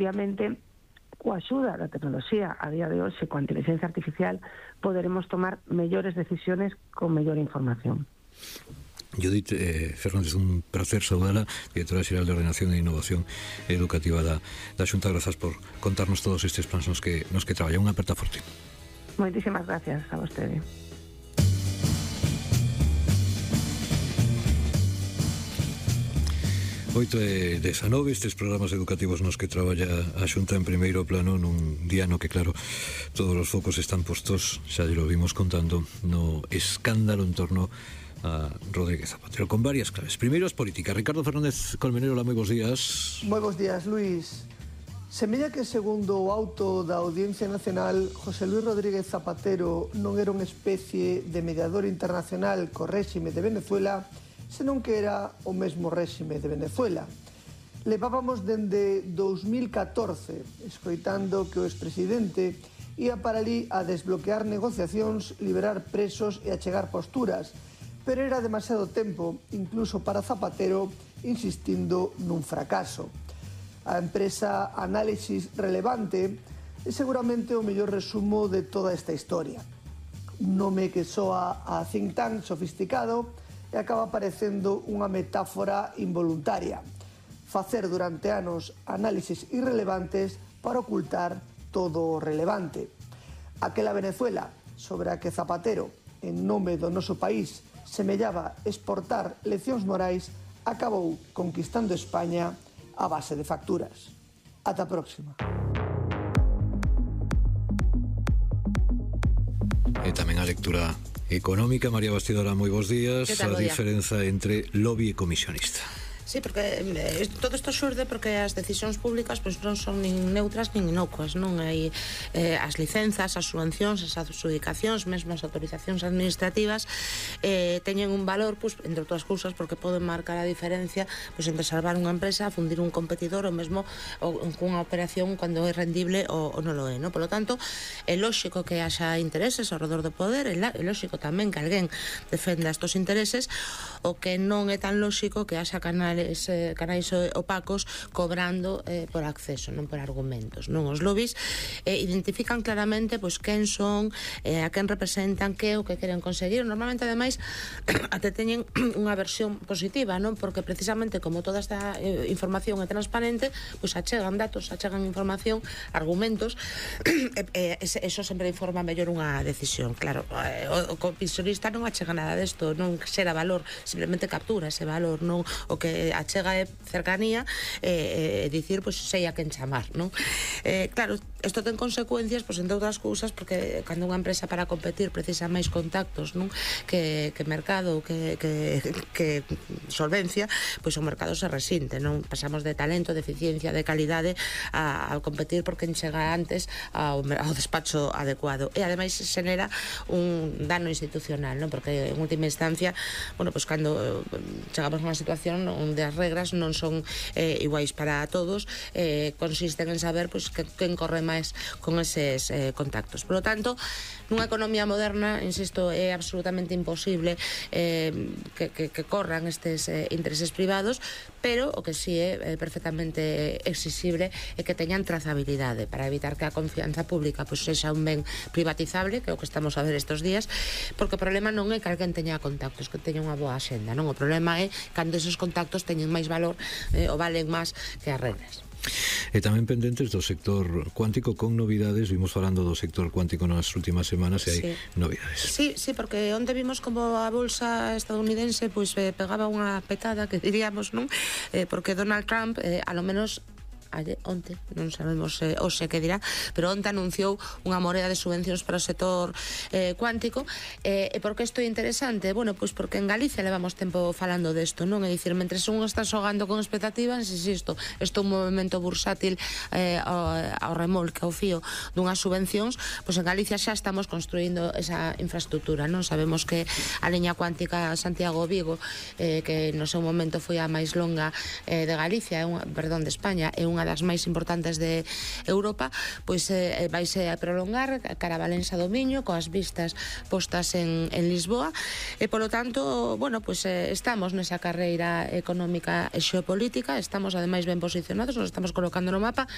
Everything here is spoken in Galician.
Obviamente, coa axuda da tecnoloxía a día de hoxe, coa inteligencia artificial, poderemos tomar mellores decisiones con mellor información. Judith Fernández, un placer saudala, directora xeral de Ordenación e Innovación Educativa da Xunta. Grazas por contarnos todos estes plans nos que traballa. Unha aperta forte. Moitísimas gracias a vostede. 8:19, estes programas educativos nos que traballa a Xunta en primeiro plano nun día no que, claro, todos os focos están postos, xa lo vimos contando, no escándalo en torno a Rodríguez Zapatero, con varias claves. Primeiro as políticas. Ricardo Fernández Colmenero, hola, moi bons días. Moi bons días, Luís. Semella que, segundo o auto da Audiencia Nacional, José Luis Rodríguez Zapatero non era unha especie de mediador internacional co réxime de Venezuela, senón que era o mesmo réxime de Venezuela. Levábamos dende 2014 escoitando que o expresidente ia para ali a desbloquear negociacións, liberar presos e achegar posturas, pero era demasiado tempo, incluso para Zapatero, insistindo nun fracaso. A empresa Análisis Relevante é seguramente o mellor resumo de toda esta historia. Un nome que soa a think tank sofisticado e acaba parecendo unha metáfora involuntaria. Facer durante anos análisis irrelevantes para ocultar todo o relevante. Aquela Venezuela sobre a que Zapatero, en nome do noso país, semellaba exportar leccións morais, acabou conquistando España a base de facturas. Ata a próxima. E tamén a lectura económica. María Bastidora, moi bons días. A diferenza entre lobby e comisionista. Sí, porque todo isto xurde porque as decisións públicas pois non son nin neutras nin inocuas, non hai as licenzas, as subvencións, as adxudicacións, mesmo as autorizacións administrativas teñen un valor, pois, entre outras cousas, porque poden marcar a diferencia pois, entre salvar unha empresa, fundir un competidor ou mesmo cunha operación cando é rendible ou non lo é, non? Por lo tanto, é lóxico que haxa intereses ao redor do poder, é lóxico tamén que alguén defenda estos intereses, o que non é tan lóxico que haxa canais opacos cobrando por acceso, non por argumentos, non? Os lobbies identifican claramente pois quen son, a quen representan, que o que queren conseguir. Normalmente, ademais, até teñen unha versión positiva, non? Porque precisamente como toda esta información é transparente, pois achegan datos, achegan información, argumentos, eso sempre informa mellor unha decisión. Claro, o comisionista non achega nada desto, non xera valor, simplemente captura ese valor, non? O que achega é cercanía e dicir, pois, sei a quen chamar, non? Claro, isto ten consecuencias, pois, entre outras cousas, porque cando unha empresa para competir precisa máis contactos, non? Que mercado, que solvencia, pois o mercado se resinte, non? Pasamos de talento, de eficiencia, de calidade a competir porque chega antes ao despacho adecuado. E ademais xenera un dano institucional, non? Porque en última instancia, bueno, pois cando chegamos a unha situación onde as regras non son iguais para todos, consisten en saber pois quen corre máis con eses contactos. Por lo tanto, nunha economía moderna, insisto, é absolutamente imposible que corran estes intereses privados, pero o que sí é perfectamente exixible é que teñan trazabilidade para evitar que a confianza pública pois sexa un ben privatizable, que é o que estamos a ver estes días, porque o problema non é que alguén teña contactos, que teña unha boa axenda, non? O problema é cando esos contactos teñen máis valor ou valen máis que as regras. E tamén pendentes do sector cuántico con novidades. Vimos falando do sector cuántico nas últimas semanas e hai novidades. Sí, porque onde vimos como a bolsa estadounidense pois pegaba unha petada, que diríamos, non? Porque Donald Trump, a lo menos onte, non sabemos hoxe que dirá, pero onte anunciou unha morea de subvencións para o sector cuántico. E por que isto é interesante? Bueno, pois porque en Galicia levamos tempo falando desto, non? É dicir, mentre un está xogando con expectativas, isto é un movimento bursátil ao remolque, ao fío dunhas subvencións, pois en Galicia xa estamos construindo esa infraestructura, non? Sabemos que a liña cuántica Santiago-Vigo, que no seu momento foi a máis longa de Galicia, de España, é unha unha das máis importantes de Europa, pois vaise a prolongar cara a Valença do Miño, coas vistas postas en Lisboa, e polo tanto, bueno, pois estamos nesa carreira económica e xeopolítica, estamos ademais ben posicionados, nos estamos colocando no mapa,